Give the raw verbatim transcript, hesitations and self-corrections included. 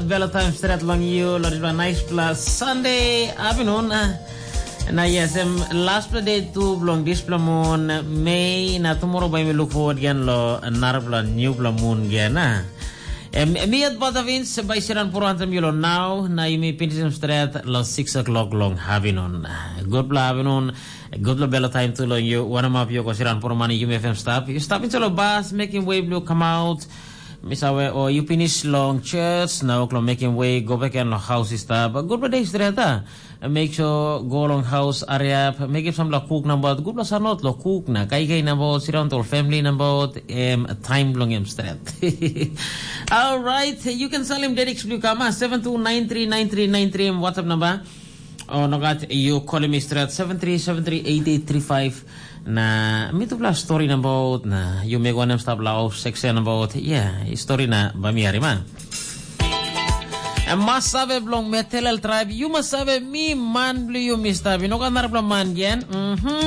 Belo taim stret long yu, lo dispela nice pla Sunday afternoon. Na yes, em last pla day tu bilong dispela moon, Mei, na tomorrow bai mi look forward again lo narapla new pla moon again. Em, em yet bother wins by Siran Poro anthem yulo now, na yumi finish em stret lo six o'clock long afternoon. Good pla afternoon, good pla belo time tu long you. One of you go Siran Poro money, you may have stop. You stop into the bus, making way blue come out. Miss Awe, or you finish long church, now o'clock making way, go back and lo house is stop. Good pla day stret, ah. Make sure go long house, hurry up, make it some lo cook number, good pla sanot lo cook na, kai kai number, sit down to family number, em time long em stret. All right, you can sell him Dedix Blue Kama, seven two nine three nine three nine three, WhatsApp number. Oh, no, God, you call me straight, seven three seven three eight eight three five. Na, mi tu pla story na about, na, you make one stop lao section about, yeah, story na, ba mi harima. Em mas save bilong Metelel tribe, you must save mi man blue you, mister. You know, kan narapla man again. Mm-hmm.